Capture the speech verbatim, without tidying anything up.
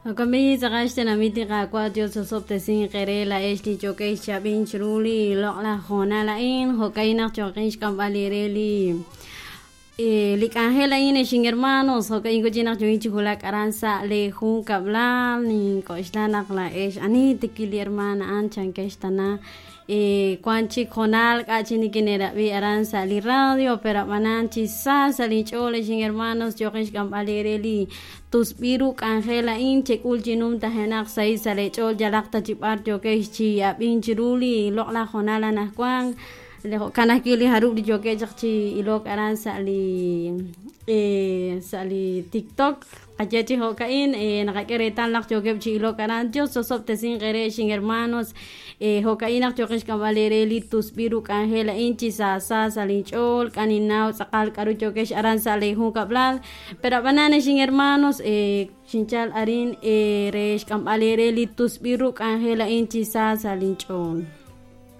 Jo'kan tz'aqal xtenamit li Qaawa' Dios osob'tesinq eere laa'ex li yo'kex chab'in chiru li loq'laj hoonal a'in jo'kan naq choqin xk'amb'al eere li li k'anjel a'in ex hermanos jo'kan kuchi naq yo'in chi wulak aran sa' li junkab'lal nink'oxla naq laa'ex ani tikil li hermana a'an chankex tana wan chik hoonal k'a' chi nikine'rab'i aran sa' li radio pero ab'anan chi sa sa' linch'ool ex hermanos yoqin xk'amb'al eere li tusb'il ru k'anjel a'in chek'ul chi numtajenaq sahil sa' leech'ool yalaq ta chi b'ar yo'kex chi ab'in chiru li loq'laj hoonal anaqwan jo'kan ajwi' li jarub' li yo'keb' chaq chi ilok aran sa' li sa' li TikTok qaye chi jo'ka'in naqak'e reetal naq yookeb' chi ilok aran Dios osob'tesinq eere ex hermanos jo'ka'in naq yooqin xk'amb'al eere li tusb'il ru k'anjel a'in chi saasa sa' linch'ool k'a ninnaw tz'aqal k'aru yo'kex aran sa' li junkab'lal pero ab'anan ex hermanos xinchal arin re xk'amb'al eere li tusb'il ru k'anjel a'in chi sa sa' linch'ool.